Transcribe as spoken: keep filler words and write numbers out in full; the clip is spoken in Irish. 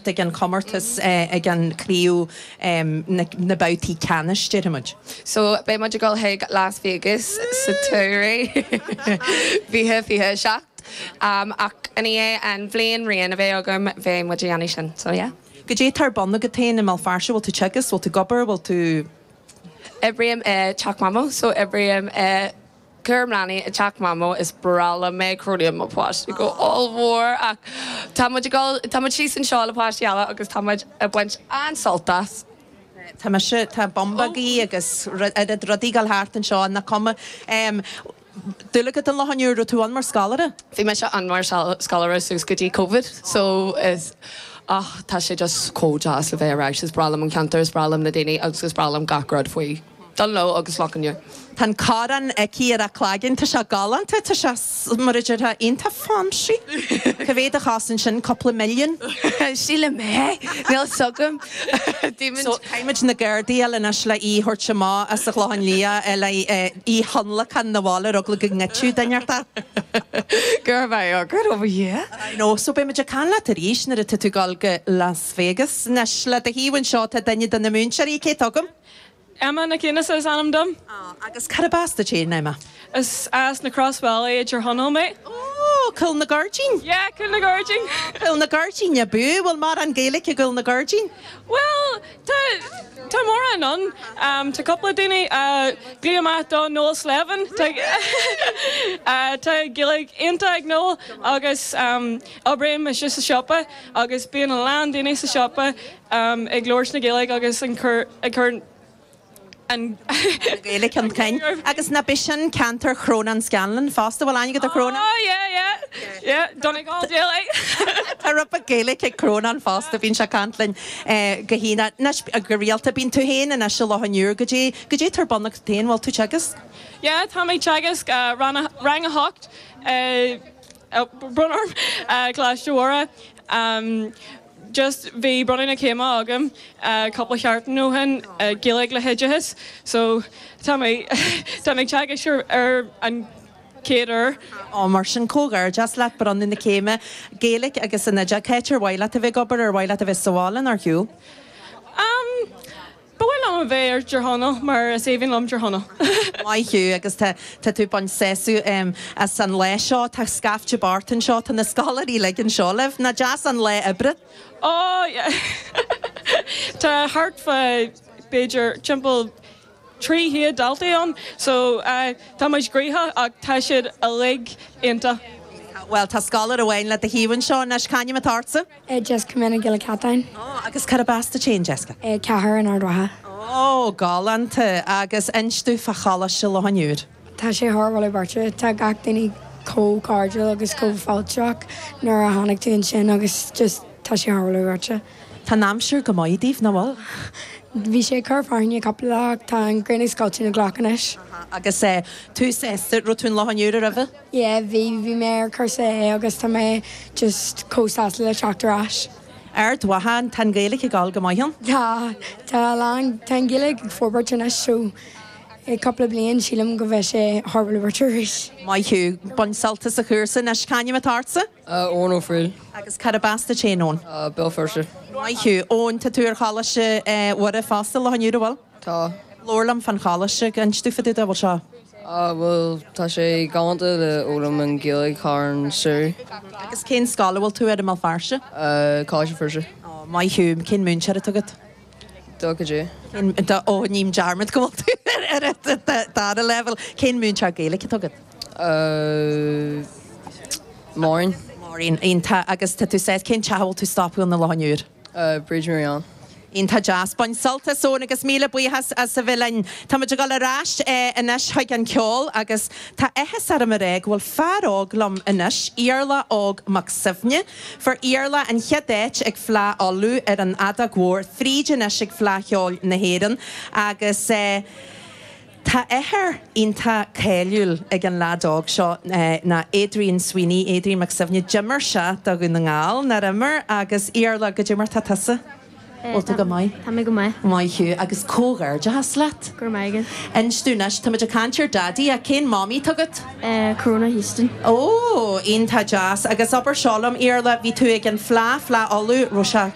páirt ag an chomórtas ag an chraobh na na babhtaí ceannais déarfaimid. So beidh muid ag dul chuig Las Vegas sa tsamhradh fiche fiche seacht. Um, ach in é an bhliain rian a bheith agam bheidh muid ag déanamh sin, so yeah. Goidé tá ar bun agat féin i mBéal Feirste bhfuil tú teagasc, bhfuil tú ag obair, bhfuil tú Oibrím i teach Mamó, so oibrím i cúram leanaí i teach Mamó is breá liom é cronaím mo páistí go ollmhór ach tá muid tá muid síos anseo le páistí eile agus tá muid ag baint an-sult as. Tá mise tá bumbagaí agus rudaí ag dul thart anseo na cuma. Dúil agat an Loch an Iúir tú an mar scoláire? Bhí mise ann mar scoláire suas go dtí COVID, so is ach tá sé just chomh deas le bheith ar ais is breá liom an ceantar is breá liom na daoine agus is breá liom gach rud faoi. Dún ló agus Loch an Iúir. Tá an corn aici ar a cloigeann tá sé galánta tá sé mar a déarfá iontach fancy. Cá mhéad a chosain sin cúpla milliún? Sílim mé Níl sugam So Caithfimid na Gardaí anois le í thabhairt amach as an Chlochán Liath le í thionlacan na bháile rugla go ngitú duinearta. Gur bheith good over here. I know, so beimid ag caint leat arís nuair atá tú ag dul go Las Vegas. Anois le do thaobh anseo tá duine de na múinteoirí cé tugam? Emma na céine is ainm dom. Agus cad as duit féin Emma? Is as na Crossvalley i Chonaill mé. Ó Cúl na Gairdín? Yeah, Cúl na Gairdín. Cúl na Gairdín a bú bhfuil mórán Gaeilge i gCúl na Gairdín? Well tá tá mórán ann um, tá cúpla daoine uh, glaoim amach do Noel Slevin Tá uh, tá Gaeilge iontach ag Noel agus um, oibrím mise sa siopa agus bíonn a lán daoine sa siopa um, ag labhairt na Gaeilge agus an chur ag cur an Gaeilge chun cinn. Agus nach b'in sin ceantar Chrónán Scanlon fosta bhfuil aithne agat ar Chrónán? Oh yeah yeah yeah Donegal Gaeilge. Tá rud Gaeilge ag Crónán fosta bíonn sé ag caint linn go hína go rialta bíonn tú féin anois i Loch an Iúir goidé goidé tá ar bun agat féin bhfuil tú teagasc? Yeah, tá mé teagasc uh, rang a hocht uh, brón orm uh, Coláiste Mhuire. Um, just bhí bronnadh na céime agam uh, cúpla seachtain ó shin uh, Gaeilge le hoideachas, so tá mé tá mé teagasc ar, ar an chéad uair. Á mar sin comhghairdeas leat bronnadh na céime Gaeilge agus an oideachas cá háit ar mhaith leat a bheith ag obair ar mhaith leat a bheith sa bhaile ar shiúl. Um, Ba mhaith liom a bheith ar Tír Chonaill mar is aoibhinn liom Tír Chonaill. Maith thú agus tá tú bain sésú as an lá seo tá scaifte bocht anseo tá na scoláirí uilig anseo libh nach deas an lá oibre. Oh yeah. Tá thart fá b'fhéidir timpeall trí chéad daltaí ann, so uh, tá muid gnoitheach ach tá siad uilig iontach. Well tá scoláire amháin le do thaobh anseo anois c'ainm atá ortsa? Jessica Mena Gilla Catain. Agus cad as duit féin Jessica? Ceathair in Ard Mhacha. Ó galánta agus inis domh fá Choláiste Loch an Iúir. Tá sé thar bhfuil beirte tá gach duine chomh cairdiúil agus chomh fáilteach nuair a tháinig tú ansin agus just tá sé thar bhfuil beirte. Tá an aimsir go maith daoibh nach bhfuil? Bhí sé cur fearthainne cúpla lá tá an ghrian ag scoilteadh na gcloch anois. Agus é tú raibh tú in Loch an Iúir roimhe? Yeah, bhí bhí mé ar cúrsa é agus tá mé just chomh sásta le teacht ar ais. Ard Mhacha tá Gaeilge ag dul go maith ann? Tá tá lán tá Gaeilge ag forbairt anois so i cúpla bliain sílim go bheidh sé thar bhfuil arís. Maith thú bain sult as an chúrsa anois c'ainm atá ortsa? Eoin Ó Frighil. Agus cad as duit féin Eoin? Béal Feirste. Maith thú Eoin tá tú ar Choláiste Mhuire fosta Loch an Iúir bhfuil? Tá. Labhair liom fán choláiste inis domh fá dtaobh de bhfuil seo. Bhuel tá sé galánta le fhoghlaim an Ghaeilge thar an samhradh. Agus cén scoil a bhfuil tú ar i mBéal Feirste? Coláiste Feirste. Maith thú cén múinteoir atá agat? Do go dé. Ó ním dearmad go bhfuil tú ar an dara level. Cén múinteoir Gaeilge atá agat? Maureen. Maureen iontach agus tá tú sé cén teach a bhfuil tú stopadh i Loch an Iúir? Bríd Marianne. Iontach deas bain sult as Eoin agus míle buíochas as a bheith linn. Tá muid ag dul ar ais anois chuig an ceol agus tá áthas orm a rá go bhfuil fear óg liom anois, Iarla Óg Mac Suibhne. Fuair Iarla an chéad áit ag Fleadh Uladh ar an fheadóg mhór, fríd anois ag Fleadh Cheoil na hÉireann agus tá athair iontach cáiliúil ag an leaid óg seo ná Adrian Sweeney, Adrian Mac Suibhne, d'imir sé do Dhún na nGall nár imir agus Iarla goidé mar tá tusa. Bhfuil tú go maith? Tá mé go maith. Maith thú agus comhghairdeachas leat. Go raibh maith agat. Inis domh anois tá muid ag caint ar Daddy a cén Mamaí atá agat? Corona Houston. Ó, iontach deas agus abair seo liom Iarla, bhí tú ag an Fleadh Fleadh Uladh raibh sé